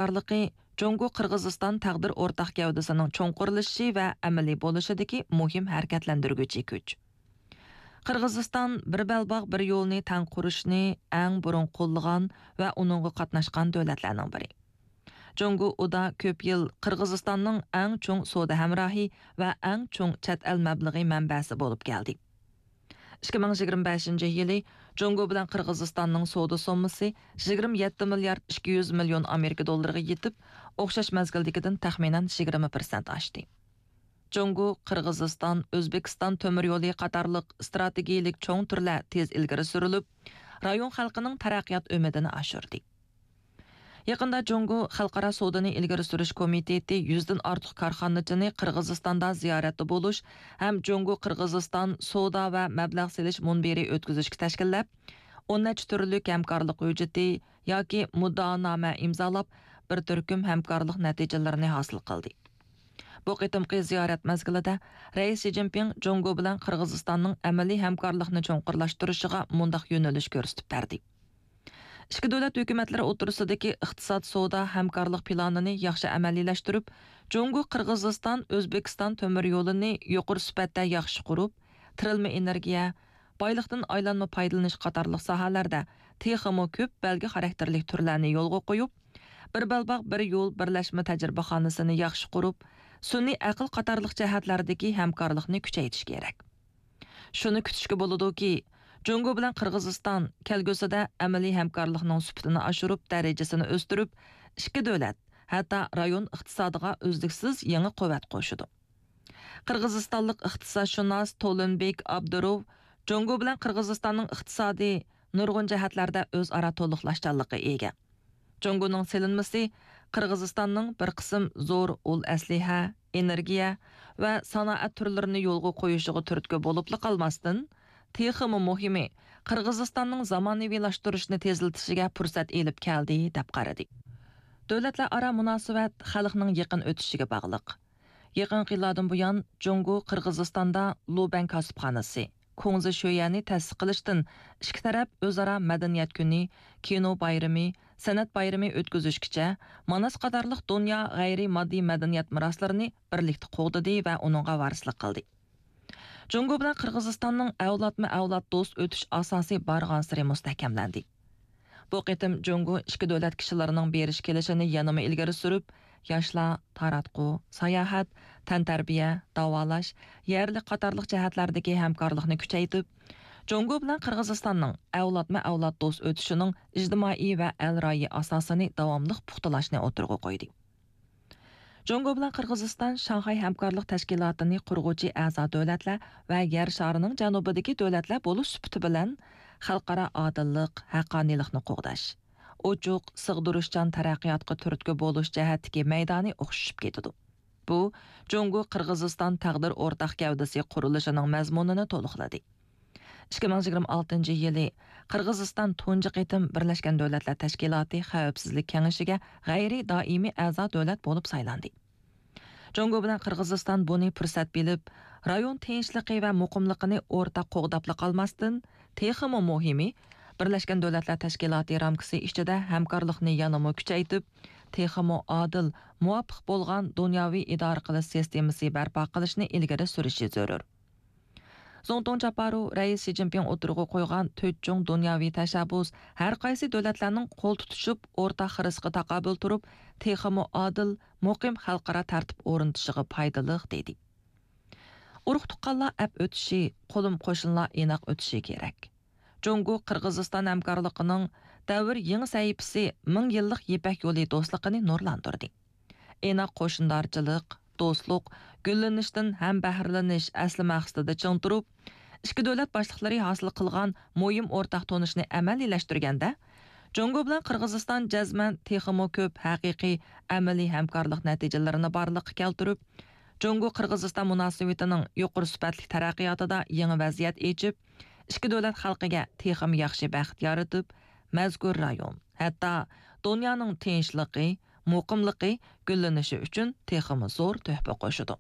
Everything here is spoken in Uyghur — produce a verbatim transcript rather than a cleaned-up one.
ھەمكارلىقى جۇڭگو قىرغىزىستان تەقدىر ئورتاق گەۋدىسىنىڭ چوڭقۇرلىشىشى ۋە ئەمەلىي بولۇشىدىكى مۇھىم ھەرىكەتلەندۈرگۈچى كۈچ. قىرغىزىستان بىر بەلباغ بىر يولنى تەڭ قۇرۇشنى ئەڭ بۇرۇن قوللىغان ۋە ئۇنىڭغا قاتناشقان دۆلەتلەرنىڭ بىرى. جۇڭگو ئۇدا كۆپ يىل قىرغىزىستاننىڭ ئەڭ چوڭ سودا ھەمراھى ۋە ئەڭ چوڭ چەت ئەل مەبلىغى مەنبەسى بولۇپ كەلدى. ئىككى مىڭ يىگىرمە بەشىنچى يىلى جۇڭگو بىلەن قىرغىزىستاننىڭ سودا سوممىسى يىگىرمە يەتتە مىليارد ئىككى يۈز مىليون ئامېرىكا دوللىرىغا يېتىپ، ئوخشاش مەزگىلدىكىدىن تەخمىنەن يىگىرمە پىرسەنت ئاشتى. جۇڭگو، قىرغىزىستان، ئۆزبېكىستان تۆمۈر يولى قاتارلىق ئىستراتېگىيىلىك چوڭ تۈرلەر تېز ئىلگىرى سۈرۈلۈپ، رايون خەلقىنىڭ تەرەققىيات ئۈمىدىنى ئاشۇردى. يېقىندا جۇڭگو خەلقئارا سودىنى ئىلگىرى سۈرۈش كومىتېتى يۈزدىن ئارتۇق كارخانىچىنى قىرغىزىستاندا زىيارەتتە بولۇش ھەم جۇڭگو قىرغىزىستان سودا ۋە مەبلەغ سېلىش مۇنبىرى ئۆتكۈزۈشكە تەشكىللەپ، ئون نەچچە تۈرلۈك ھەمكارلىق ھۆججىتى ياكى مۇددىئانامە ئىمزالاپ، بىر تۈركۈم ھەمكارلىق نەتىجىلىرىنى ھاسىل قىلدى. بۇ قېتىمقى زىيارەت مەزگىلىدە رەئىس شى جىنپىڭ جۇڭگو بىلەن قىرغىزىستاننىڭ ئەمەلىي ھەمكارلىقنى چوڭقۇرلاشتۇرۇشىغا مۇنداق يۆنىلىش كۆرسىتىپ بەردى. ئىككى دۆلەت ھۆكۈمەتلىرى ئوتتۇرىسىدىكى ئىقتىساد سودا ھەمكارلىق پىلانىنى ياخشى ئەمەلىيلەشتۈرۈپ، جۇڭگو قىرغىزىستان ئۆزبېكىستان تۆمۈر يولىنى يۇقىرى سۈپەتتە ياخشى قۇرۇپ، تىرىلما ئېنېرگىيە، بايلىقتىن ئايلانما پايدىلىنىش قاتارلىق ساھەلەردە تېخىمۇ كۆپ بەلگە خاراكتېرلىك تۈرلەرنى يولغا قويۇپ، بىر بەلباغ بىر يول بىرلەشمە تەجرىبىخانىسىنى ياخشى قۇرۇپ، سۈنئىي ئەقىل قاتارلىق جەھەتلەردىكى ھەمكارلىقنى كۈچەيتىش كېرەك. شۇنى كۈتۈشكە بولىدۇكى، جۇڭگو بىلەن قىرغىزىستان كەلگۈسىدە ئەمەلىي ھەمكارلىقنىڭ سۈپىتىنى ئاشۇرۇپ، دەرىجىسىنى ئۆستۈرۈپ، ئىككى دۆلەت، ھەتتا رايون ئىقتىسادىغا ئۈزلۈكسىز يېڭى قۇۋۋەت قوشىدۇ. قىرغىزىستانلىق ئىقتىسادشۇناس تولۇنبېك ئابدۇروف جۇڭگو بىلەن قىرغىزىستاننىڭ ئىقتىسادى نۇرغۇن جەھەتلەردە ئۆزئارا تولۇقلاشچانلىققا ئىگە. جۇڭگونىڭ سېلىنمىسى قىرغىزىستاننىڭ بىر قىسىم زور ئۇل ئەسلىھە، ئېنېرگىيە ۋە سانائەت تۈرلىرىنى يولغا قويۇشىغا تۈرتكە بولۇپلا قالماستىن، تېخىمۇ مۇھىمى، قىرغىزىستاننىڭ زامانىۋىلاشتۇرۇشنى تېزلىتىشىگە پۇرسەت ئېلىپ كەلدى، دەپ قارىدى. دۆلەتلەر ئارا مۇناسىۋەت خەلقنىڭ يېقىن ئۆتۈشىگە باغلىق. يېقىنقى يىللاردىن بۇيان، جۇڭگو قىرغىزىستاندا لۇبەن كاسىپخانىسى، كۇڭزى شۆيەنى تەسىس قىلىشتىن ئىككى تەرەپ ئۆزئارا مەدەنىيەت كۈنى، كىنو بايرىمى، سەنئەت بايرىمى ئۆتكۈزۈشكىچە، ماناس قاتارلىق دۇنيا غەيرىي ماددىي مەدەنىيەت مىراسلىرىنى بىرلىكتە قوغدىدى ۋە ئۇنىڭغا ۋارىسلىق قىلدى. جۇڭگو بىلەن قىرغىزىستاننىڭ ئەۋلادمۇ ئەۋلاد دوست ئۆتۈش ئاساسى بارغانسېرى مۇستەھكەملەندى. بۇ قېتىم جۇڭگو ئىككى دۆلەت كىشىلىرىنىڭ بېرىش كېلىشىنى يەنىمۇ ئىلگىرى سۈرۈپ، ياشلار، تاراتقۇ، ساياھەت، تەنتەربىيە، داۋالاش، يەرلىك قاتارلىق جەھەتلەردىكى ھەمكارلىقنى كۈچەيتىپ، جۇڭگو بىلەن قىرغىزىستاننىڭ ئەۋلادمۇ ئەۋلاد دوست ئۆتۈشىنىڭ ئىجتىمائىي ۋە ئەل رايى ئاساسىنى داۋاملىق پۇختىلاشنى ئوتتۇرىغا قويدى. جۇڭگو بىلەن قىرغىزىستان شاڭخەي ھەمكارلىق تەشكىلاتىنى قۇرغۇچى ئەزا دۆلەتلەر ۋە يەر شارىنىڭ جەنۇبىدىكى دۆلەتلەر بولۇش سۈپىتى بىلەن، خەلقئارا ئادىللىق، ھەققانىيلىقنى قوغداش، ئوچۇق، سىغدۇرۇشچان تەرەققىياتقا تۈرتكە بولۇش جەھەتتىكى مەيدانى ئوخشىشىپ كېتىدۇ. بۇ، جۇڭگو قىرغىزىستان تەقدىر ئورتاق گەۋدىسى قۇرۇلۇشىنىڭ مەزمۇنىنى تولۇقلىدى. ئىككى مىڭ يىگىرمە ئالتىنچى يىلى قىرغىزىستان تۇنجى قېتىم بىرلەشكەن دۆلەتلەر تەشكىلاتى خەۋپسىزلىك كېڭىشىگە غەيرىي دائىمىي ئەزا دۆلەت بولۇپ سايلاندى. جۇڭگو بىلەن قىرغىزىستان بۇنى پۇرسەت بىلىپ، رايون تىنچلىقى ۋە مۇقىملىقىنى ئورتاق قوغداپلا قالماستىن، تېخىمۇ مۇھىمى، بىرلەشكەن دۆلەتلەر تەشكىلاتى رامكىسى ئىچىدە ھەمكارلىقنى يەنىمۇ كۈچەيتىپ، تېخىمۇ ئادىل، مۇۋاپىق بولغان دۇنياۋى ئىدارە قىلىش سىستېمىسى بەرپا قىلىشنى ئىلگىرى سۈرۈشى زۆرۈر. زۇڭتۇڭ جاپارۇ رەئىس شى جىنپىڭ ئوتتۇرىغا قويغان تۆت چوڭ دۇنياۋى تەشەببۇس ھەر قايسى دۆلەتلەرنىڭ قول تۇتۇشۇپ، ئورتاق خىرىسقا تاقابىل تۇرۇپ، تېخىمۇ ئادىل، مۇقىم خەلقئارا تەرتىپ ئورنىتىشىغا پايدىلىق، دېدى. ئۇرۇق تۇغقانلار ئەپ ئۆتۈشى، قولۇم قوشنىلار ئىناق ئۆتۈشى كېرەك. جۇڭگو قىرغىزىستان ھەمكارلىقىنىڭ دەۋر يېڭى سەھىپىسى مىڭ يىللىق يىپەك يولى دوستلۇقىنى نۇرلاندۇردى. ئىناق قوشنىدارچىلىق، دوستلۇق، گۈللىنىشتىن ھەم بەھرىلىنىش ئەسلى مەقسىتىدە چىڭ تۇرۇپ، ئىككى دۆلەت باشلىقلىرى ھاسىل قىلغان مۇھىم ئورتاق تونۇشنى ئەمەلىيلەشتۈرگەندە، جۇڭگو بىلەن قىرغىزىستان جەزمەن تېخىمۇ كۆپ ھەقىقىي ئەمەلىي ھەمكارلىق نەتىجىلىرىنى بارلىققا كەلتۈرۈپ، جۇڭگو قىرغىزىستان مۇناسىۋىتىنىڭ يۇقىرى سۈپەتلىك تەرەققىياتىدا يېڭى ۋەزىيەت ئېچىپ، ئىككى دۆلەت خەلقىگە تېخىمۇ ياخشى بەخت يارىتىپ، مەزكۇر رايون، ھەتتا دۇنيانىڭ تىنچلىقى، مۇقىملىقى، گۈللىنىشى ئۈچۈن تېخىمۇ زور تۆھپە قوشىدۇ.